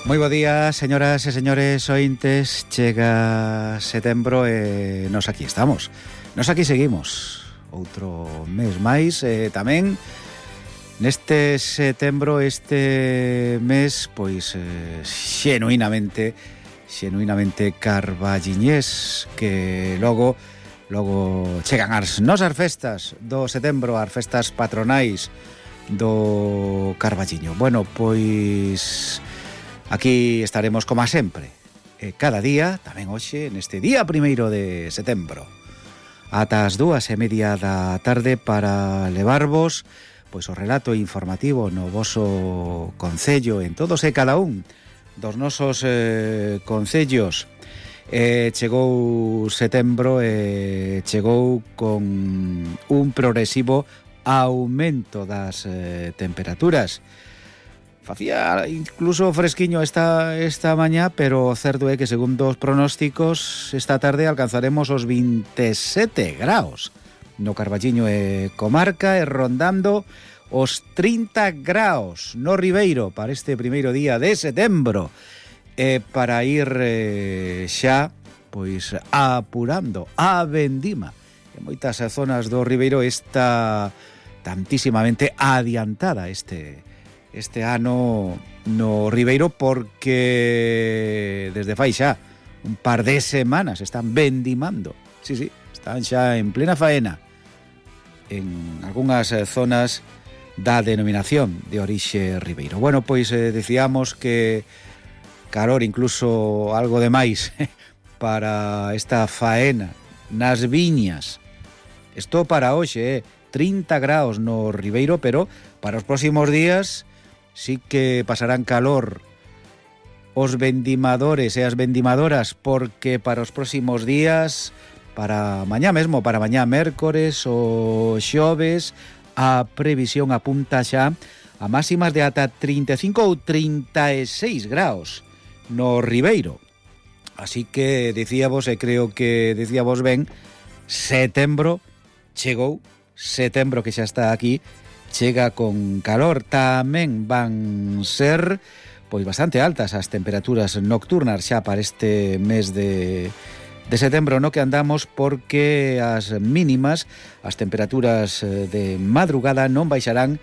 Moi bo día, señoras e señores ointes. Chega setembro e nos aquí estamos. Nos aquí seguimos. Outro mes máis tamén neste setembro, este mes, pois xenuinamente carballiñés, que logo chegan as nosas festas do setembro, as festas patronais do Carballiño. Bueno, pois aquí estaremos como sempre, cada día, tamén hoxe, neste día 1º de setembro, ata as 2:30 da tarde, para levarvos pois o relato informativo no voso concello, en todos e cada un dos nosos concellos. Chegou setembro e chegou con un progresivo aumento das temperaturas. Facía incluso fresquiño esta mañá, pero o certo é que, segundo os pronósticos, esta tarde alcanzaremos os 27 graus no Carballiño e comarca, e rondando os 30 graus no Ribeiro para este primeiro día de setembro, para ir xa pois apurando a vendima. En moitas zonas do Ribeiro está tantísimamente adiantada este ano no Ribeiro, porque desde fai xa un par de semanas están vendimando. Sí, están xa en plena faena en algunhas zonas da denominación de orixe Ribeiro. Bueno, pois decíamos que calor, incluso algo de máis para esta faena nas viñas. Isto para hoxe, 30 graus no Ribeiro, pero para os próximos días sí que pasarán calor os vendimadores e as vendimadoras, porque para os próximos días, para mañá mesmo, para mañá mércores ou xoves, a previsión apunta xa a máximas de ata 35 ou 36 graus no Ribeiro. Así que dicíamos, e creo que dicíamos ben, setembro chegou, setembro que xa está aquí, chega con calor. Tamén van ser pois bastante altas as temperaturas nocturnas xa para este mes de setembro no que andamos, porque as mínimas, as temperaturas de madrugada non baixarán